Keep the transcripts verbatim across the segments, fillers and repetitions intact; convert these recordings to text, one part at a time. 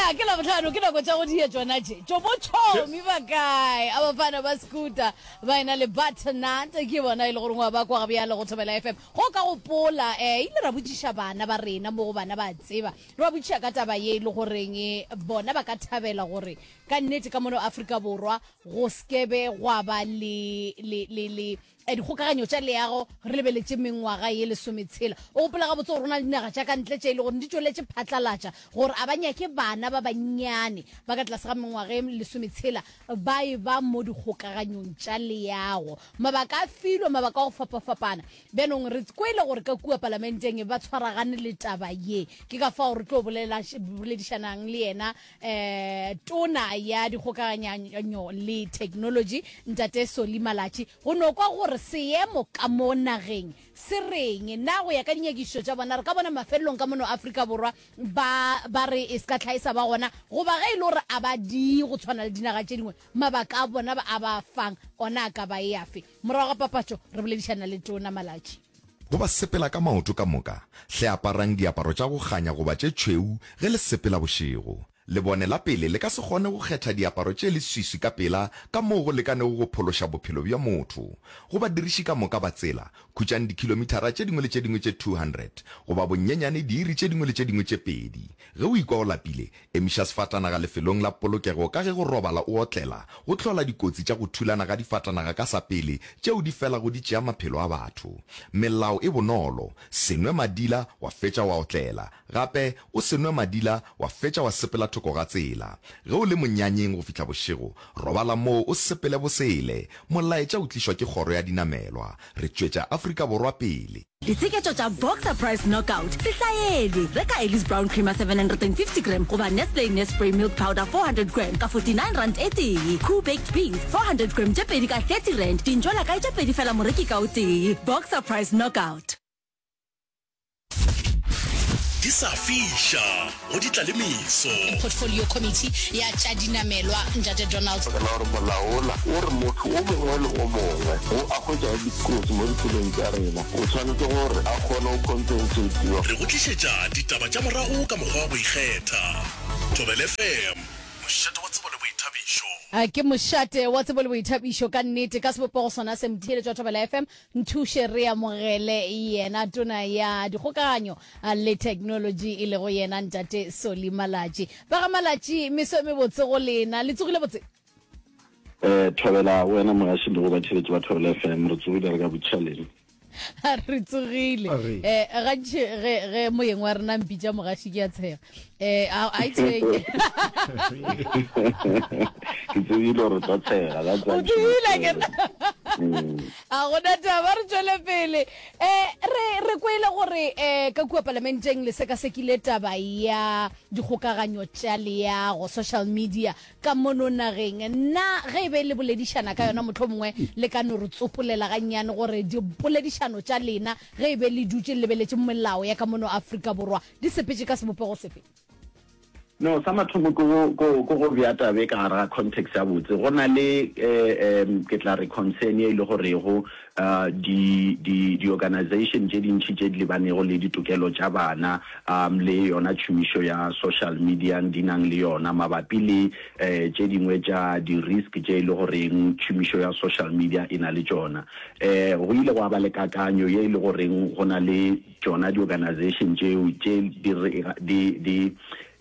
Ya, ke Labohlano, ke nako tša go dia tšona tše. Tšo bo tšhomi ba kae? A bafana ba Scooter ba ena le Butternut, ke bona e le gore wa ba kwa bjale go Thobela F M. Go ka gopola, eh, ile ra botšiša bana ba rena mo go bana ba tseba. Re ba botšiša ka taba ye e le goreng bona ba ka thabela gore ka nnete ka mono Afrika Borwa go skebe gwa ba le le le le dikgokaganyo tša leago re lebeletše mengwaga ye lesometshela. O gopola gabotse gore go na le dinaga tša ka ntle tše e le gore di tšweletše phatlalatša gore a ba nyake bana ba bannyane ba ka tlase ga mengwaga ye lesometshela ba e ba mo dikgokaganyong tša leago. Mabaka a filwe, mabaka a go fapafapana. Bjanong re kwele gore ka kua palamenteng ba tshwaragane le taba ye. Ke ka fao re tlo bolela boledišanang le yena um tona ya dikgokaganyo le technology ntate Solly Malatji go no kwa gore seemo ka mo nageng se reng. Na go ya ka dinyakišišo tša bona re ka bona mafelelong ka mono Afrika Borwa ba ba re e se ka tlhaesa ba gona, goba ge e le gore a ba di go tshwana le dinaga tše dingwe mabaka a bona ba a ba fang ona a ka ba e afe. Morago ga papatšo re boledišana le tona Malatji. Go ba sepela ka maoto ka moka, hle aparang diaparo tša go kganya goba tše tšhweu ge le sepela bošego. Lebone la pele le ka se kgone go kgetha diaparo tše leswiswi ka pela ka moo go lekanego go phološa bophelo bja motho. Go badiriši ka moka ba tsela, khutšang dikhilomithara tše dingwe le tše dingwe tše two hundred goba bonyenyane diiri tše dingwe le tše dingwe tše pedi. Ge o ikwa o lapile, emiša sefatanaga lefelong la polokego ka ge go robala o otlela go hlola dikotsi tša go thulana ga difatanaga ka sa pele tšeo di felago di tšea maphelo a batho. Melao e bonolo, se nwe madila wa fetša wa otlela. Gape, o se nwe madila wa fetša wa sepela thoko ga tsela. Ge o le monyanyeng go fihla bošego, robala moo o sepele bosele. Molaetša o tlišwa ke Kgoro ya Dinamelwa. Re tšwetša Afrika Borwa pele. Ditsheketšo tša Boxer Price Knockout se hlaelwe. Reka Ellis Brown Creamer seven hundred and fifty gram goba Nestle Nespray Milk Powder four hundred gram ka forty-nine rand e tee. Koo Baked Beans four hundred gram tše pedi ka thirty rand. Dintšwela kae tše pedi fela moreki ka o tee. Boxer Price Knockout. Di sa fiša go di tla le meso. Portfolio Committee ya tša dinamelwa ntate Donald. Ka la gore molao ola o re motho o mongwe le o mongwe o a hwetšago dikotsi mo ditseleng tša rena o tshwanetse gore a kgone go compensatiwa. Re go tlišetša ditaba tša morago ka mokgwa wa go ikgetha. Thobela F M, mošate wa tsebo le boithabišo. Ke mošate wa tsebo le boithabišo ka nnete ka sebopego sona se. Motheeletši wa Thobela F M, nthuše re amogele yena tona ya dikgokaganyo le technology e lego yena ntate Solly Malatji. Ba ga Malatji, meso e mebotse go lena, le tsogile botse? Eh, Thobela wena mogaši le go batheeletši ba Thobela F M, re tsogile re ka botšhaleng. Re tsogile. Eh, gantši ge ge moyeng wa rena mpitša mogaši ke a tshega. Eh, a a itshwenye. Ke tsebile gore tlo tshega, that's why O tsebile ke. A gona taba, re tšwele pele. Eh, re re kwele gore eh ka kua palamenteng le sekasekile taba ya dikgokaganyo tša leago, social media ka mono nageng. Na ge e be le boledišana ka yona mohlomongwe le ka no re tsopolela gannyane gore dipoledišano tša lena ge e be le dutše le lebeletše melao ya ka mono Afrika Borwa di sepetše ka sebopego sefe? No, sa mathomo ke go, go, go go bea taba e ka gare ga context ya botse. Go na le, eh, um, ke tla re concern ye e le gorego, uh, di, di, di-organization tše dintši tše di lebanego le ditokelo tša bana, um, le yona tšhomišo ya social media di nang le yona mabapi le, eh, tše dingwe tša di-risk tše e le goreng tšhomišo ya social media e na le tšona. Eh, go ile gwa ba le kakanyo ye e le goreng go na le tšona di-organization tšeo tše di re, di, di,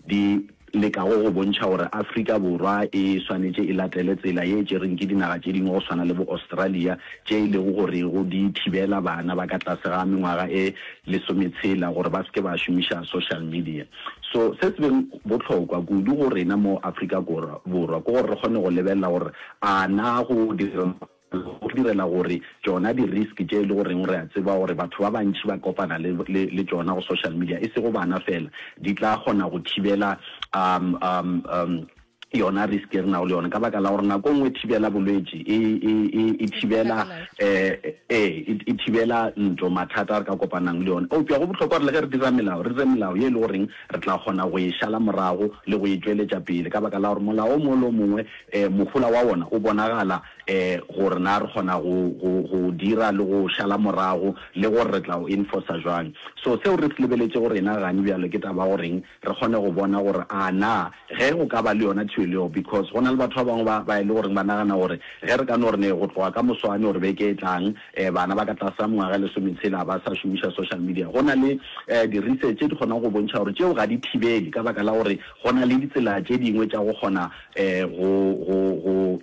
di lekago go bontšha gore Afrika Borwa e swanetše e latele tsela ye e tšereng ke dinaga tše dingwe go swana le bo Australia tše e lego gore go di thibela bana ba ka tlase ga mengwaga e lesometshela gore ba se ke ba šomiša social media. So se se beng bohlokwa kudu go rena mo Afrika Borwa ke gore re kgone go lebelela gore a na go dira go direla gore tšona di-risk tše e le goreng re a tseba gore batho ba bantši ba kopana le, le, le tšona go social media e sego bana fela di tla kgona go thibela um, um, um, yona risk e re nago le yona, ka baka la gore nako nngwe thibela bolwetši e, e, e, e thibela, eh, e, e thibela ntlo, mathata a re ka kopanang le yona. Eupša go bohlokwa gore le ge re dira melao, re dire melao ye e le goreng re tla kgona go e šala morago le go e tšweletša pele, ka baka la gore molao o mongwe le o mongwe, eh, mohola wa wona o bonagala, eh, gore na re kgona go, go, go o dira le go o šala morago, le gore re tla o enforcer jwang. So seo re se lebeletšego rena gane bjalo ke taba ya goreng re kgone go bona gore a na ge go ka ba le yona thibelo yeo, because go na le batho ba bangwe ba, ba e le goreng ba nagana gore ge re ka no re ne go tloga ka moswane or beke e tlang, eh, bana ba ka tlase ga mengwaga e lesometshela ba sa šomiša social media. Go na le, eh, di-research tše di kgonago go bontšha gore tšeo ga di thibele ka baka la gore go na le ditsela tše dingwe tša go kgona, eh, go, go, go,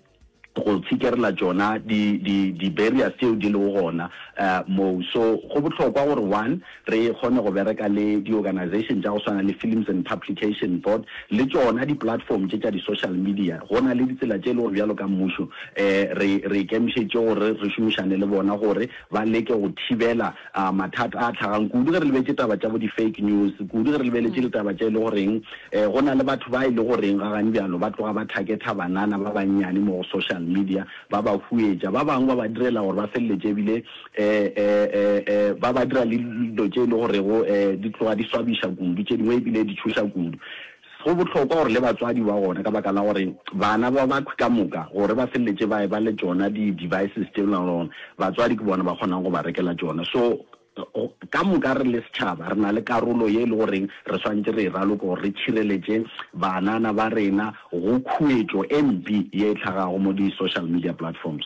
go tshikerela tšona di, di, di-barriers tšeo di lego gona uh, moo. So go bohlokwa gore one, re kgone go bereka le di-organization tša go swana le Films and Publication Board le tšona di-platform tše tša di-social media. Go na le ditsela tše e le gore bjalo ka mmušo um re, re ikemišeditše gore re šomišane le bona gore ba leke go thibela uh, mathata a tlhagang kudu ge re lebetše taba tša bo di-fake news, kudu ge re lebeletše ditaba tše e le goreng um go na le batho ba e le goreng ga gane bjalo ba tloga ba targetha banana ba bannyane mo go social media, ba ba huetša, ba bangwe ba ba direla gore ba feleletše ebile um um um ba ba dira le dilo tše e le gorego um di tloga di swabiša kudu, tše dingwe ebile di tšhoša kudu. Go bohlokwa gore le batswadi ba gona, ka baka la gore bana ba ba ka moka gore ba feleletše ba eba le tšona di-devices tše le gona batswadi ke bona ba kgonang go ba rekela tšona. So ka moka re le setšhaba re na le karolo ye e le goreng re swanetše re e raloke gore re tšhireletše banana ba rena go khuetšo e mpe ye e hlagago mo di-social media platforms.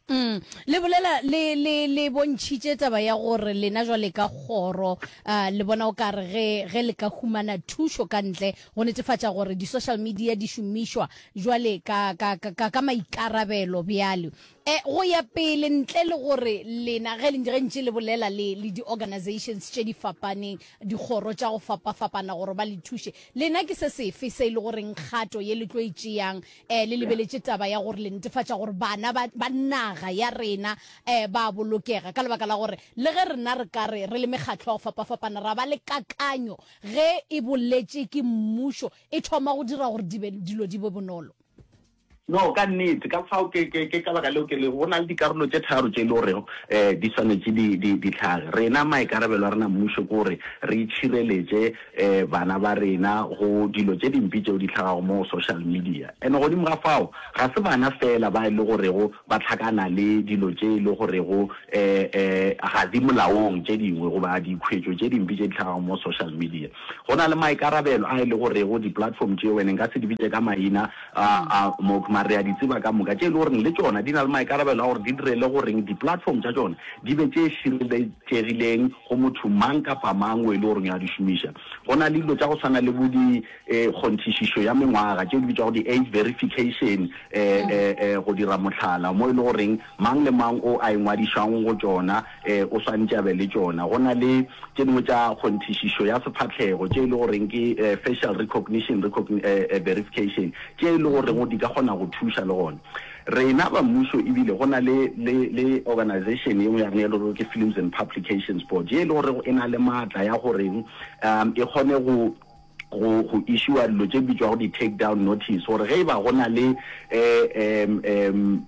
Mm. Le bolela le, le, le bontšhitše taba ya gore lena jwale ka kgoro, uh, le bona o ka re ge, ge le ka humana thušo ka ntle go netefatša gore di-social media di šomišwa jwale ka, ka, ka, ka, ka maikarabelo bjale. E, go ya pele ntle le gore lena ge, ge ntše le bolela le, le di-organizations tše di fapaneng, dikgoro tša go fapafapana gore ba le thuše, lena ke se sefe se e le goreng kgato ye le tlo e tšeang eh, le lebeletše taba ya gore le netefatša gore bana ba, ba naga ya rena eh, ba bolokega, ka lebaka la gore le ge rena re ka re re le mekgatlo ya go fapafapana ra ba le kakanyo ge e boletše ke mmušo e thoma go dira gore di be, dilo di be bonolo. No, ka nnete. Ka fao ke, ke, ke ka baka leo ke lego, go na le dikarolo tše tharo tše e le gorego um di swanetše di, di, di hlage. Rena, maikarabelo a rena mmušo ke gore re itšhireletše um bana ba rena go dilo tše dimpe tšeo di hlagago mo go social media. And godimo ga fao, ga se bana feela ba e le gorego ba hlakana le dilo tše e le gorego um um ga di molaong tše dingwe goba dikhwetšo tše dimpe tše di hlagago mo social media. Go na le maikarabelo a e le gorego di-platform tšeo, and nka se di bitše ka maina a, a mo, mara re a di tseba ka moka, tše e le goreng le tšona di na le maikarabelo a gore di direle goreng di-platform tša tšona di be tše šireletšegileng go motho mang kapa mang o e le goreng a di šomiša. Go na le dilo tša go swana le bo di eh, kgonthišišo ya mengwaga tšeo di bitšwago di-age verification eh, eh, eh, go dira mohlala mo e le goreng mang le mang o a ingwadišang go tšona eh, o swanetše a be le tšona. Go na le tše dingwe tša kgonthišišo ya sefahlego tše e le goreng ke eh, facial recognition, recogni, eh, eh, verification tše e le goreng di ka kgona go thuša le gona. Rena ba mmušo ebile go na le, le, le organization ye nngwe ya rena e le gore ke Films and Publications Board ye e le gorego e na le maatla ya goreng um e kgone go go go issuer dilo tše bitšwago di take down notice gore ge e ba go na le eh, um, um,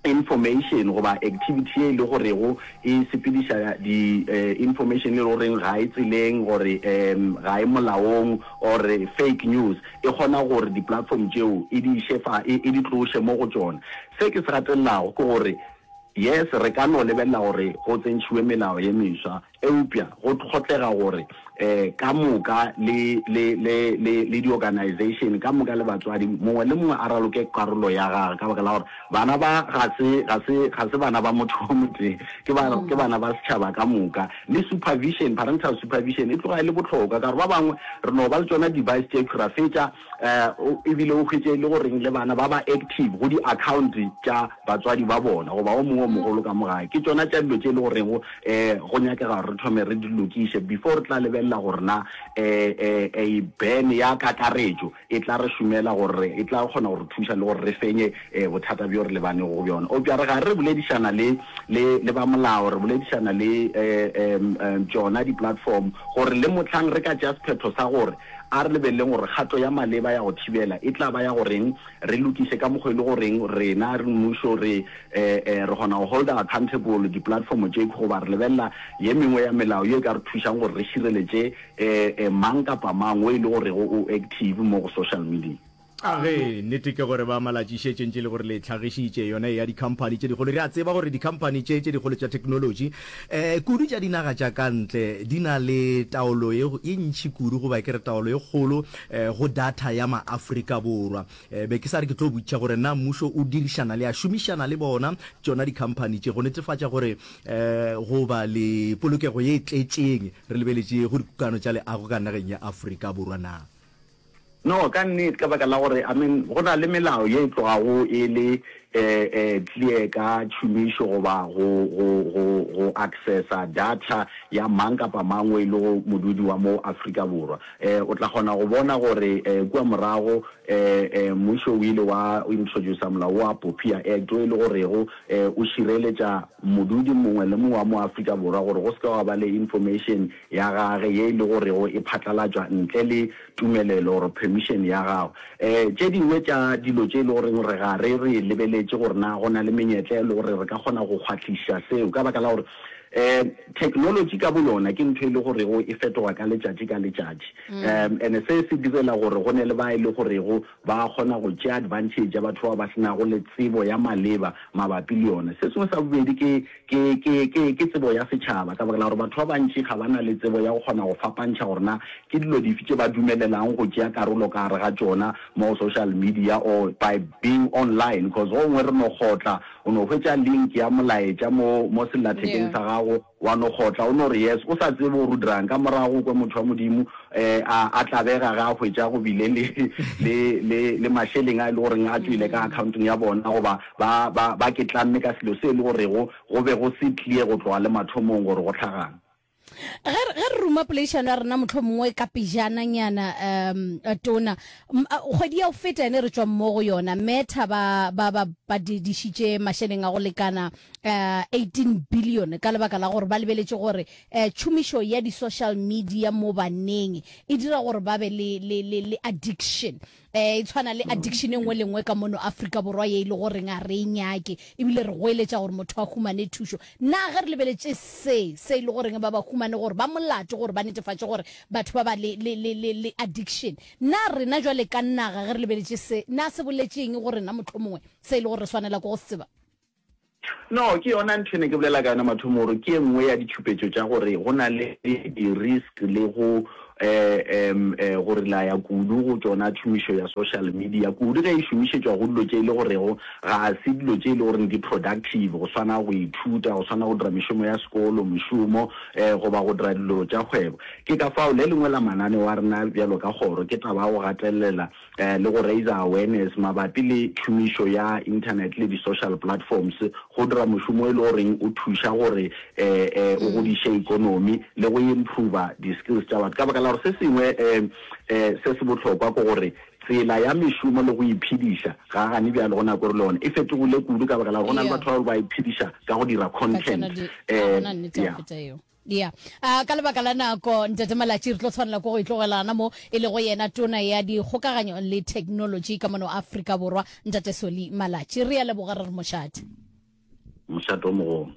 information goba activity ye e le gorego e sepediša di eh, information e le goreng ga e tseleng gore um ga e molaong or fake news, e kgona gore di-platform tšeo e di iše fa, e, e di tloše mo go tšona. Se ke se gatelelago ke gore yes, re ka no lebelela gore go tsentšhiwe melao ye meswa, eupša go hlokega gore um ka moka le, le, le, le, le di-organization ka moka le batswadi, mongwe le mongwe a raloke karolo ya gagwe, ka baka la gore bana ba ga se, ga se, ga se bana ba motho o motee, ke ba, ke bana ba setšhaba ka moka. Le supervision, parental supervision e tloga e le bohlokwa, ka gore ba bangwe re no ba le tšona device tše ra fetša um ebile o hwetše e le goreng le bana ba ba active go di-account tša batswadi ba bona, goba o mongwe o mogolo ka mo gae. Ke tšona tša dilo tše e le gorego um go nyakega gore re thome re di lokiše before re tla lebelela gore na um a ban ya kakaretšo e tla re šomela gore e tla kgona go re thuša le gore re fenye um bothata bjo re lebanego go bjona. Eupša re gare re boledišana le le le ba molao, re boledišana le um um tšona di-platform gore le mohlang re ka tšea sephetho sa gore a re lebeleleng gore kgato ya maleba ya go thibela e tla ba ya goreng, re lokiše ka mokgwa e le goreng rena re mmušo re re kgona go holder accountable di-platform tše goba re lebelela ye mengwe ya melao ye e ka re thušang gore re šireletše mang kapa mang o e le gorego o active mo go social media. A ge, nnete ke gore ba Malatši šetše ntše e le gore le hlagišitše yona ya dikhamphani tše dikgolo. Re a tseba gore dikhamphani tše tše dikgolo tša theknolotši, eh, kudu tša dinaga tša ka ntle, di na le taolo ye, ye ntši kudu, goba ke re taolo ye kgolo, eh, go data ya Maafrika Borwa. Eh, be ke sa re ke tlo botšiša gore na mmušo o dirišana le a šomišana le bona tšona dikhamphani tše go netefatša gore, eh, go ba le polokego ye e tletšeng re lebeletše go dikokano tša leago ka nageng ya Afrika Borwa na. No, ka nnete, ka baka la gore, I mean, go na le melao ye e tlogago e le eh, eh, clear ka tšhomišo goba go, go, go, go accessa data ya mang kapa mang o e lego modudi wa mo Afrika Borwa. Eh, o tla kgona go bona gore eh, kua morago eh, eh, mmušo o ile wa introducer molao wa POPIA Act o e le gorego eh, o šireletša modudi mongwe le mongwe wa mo Afrika Borwa gore go se ke gwa ba le information ya gage ye e le gorego e phatlalatšwa ntle le tumelelo or permission ya gago. Um tše dingwe tša dilo tše e le goreng re ga re re lebeletše gore na go na le menyetla e le gore re ka kgona go kgwahliša seo ka baka la gore um technology ka boyona ke ntho e le gorego e fetoga ka letšatši ka letšatši. Um and se se direla gore go ne le ba e le gorego ba kgona go tšea advantage ya batho bao ba se nago le tsebo ya maleba mabapi le yona. Se sengwe sa bobedi ke ke ke ke ke tsebo ya setšhaba ka baka la gore batho ba bantši ga ba na le tsebo ya go kgona go fapantšha gore na ke dilo dife tše ba dumelelang go tšea karolo ka gare ga tšona mo social media or by being online cause go gongwe re no kgotla o no hwetša link ya molaetša mo mo sellathekeng sa gago wa no kgotla o no re yes o sa tsebe gore o dirang ka morago o kwe motho wa Modimo um a a tlabega ge a hwetša go bile le le le le mašeleng a e le goreng a tšwele ka accountong ya bona goba ba ba ba ke tlamme ka selo se e le gorego go be go se clear go tloga le mathomong gore go hlagang. Ge re, ge re ruma poledišano ya rena mohlomongwe ka pejananyana, um, Tona, kgwedi ya go feta yane re tšwa mo go yona, Meta ba, ba, ba badidišitše mašeleng a go lekana uh, eighteen billion ka lebaka la gore ba lebeletše gore uh, tšhomišo ya di-social media mo baneng e dira gore ba be le, le, le, le addiction. Eh, e tshwana le addiction e nngwe le nngwe ka mono Afrika Borwa ye e le goreng a re e nyake, ebile re goeletša gore motho a humane thušo. Na ge re lebeletše se, se e le goreng ba ba humane gore ba molato gore ba netefatše gore batho ba ba le, le, le, le, le addiction, na rena jwale ka naga ge re lebeletše se, na se boletše eng go rena mohlomongwe se e le gore re swanela ke go se tseba? No, ke yona ntho e ne ke bolela ka yona mathomo gore ke e nngwe ya ditšhupetšo tša gore go na le di-risk le go um go relaya kudu go tšona tšhomišo ya social media, kudu ge e šomišetšwa go dilo tše e le gorego ga se dilo tše e le goreng di productive, go swana go ithuta, go swana go dira mešomo ya sekolo, mošomo um goba go dira dilo tša kgwebo. Ke ka fao le lengwe la mananeo a rena bjalo ka kgoro ke taba ya go gatelela le go raiser awareness mabapi le tšhomišo ya internet le di-social platforms go dira mošomo e le goreng o thuša gore o godiše economy le go improver di-skills tša batho. Ka baka la gore se sengwe se se bohlokwa ke gore tsela ya mešomo le go iphediša ga gane bjale go nako re le yona e fetogile kudu ka baka la gore go na le batho ba ba iphediša ka go dira content. Yeah. Ya. A ka lebaka la nako, Ntate Malatji, re tlo tshwanela ke go itlogelana mo e lego yena Tona ya Dikgokaganyo le Theknolotši ka mono Afrika Borwa, Ntate Solly Malatji. Re a leboga, re re mošate. Mošate o mogolo.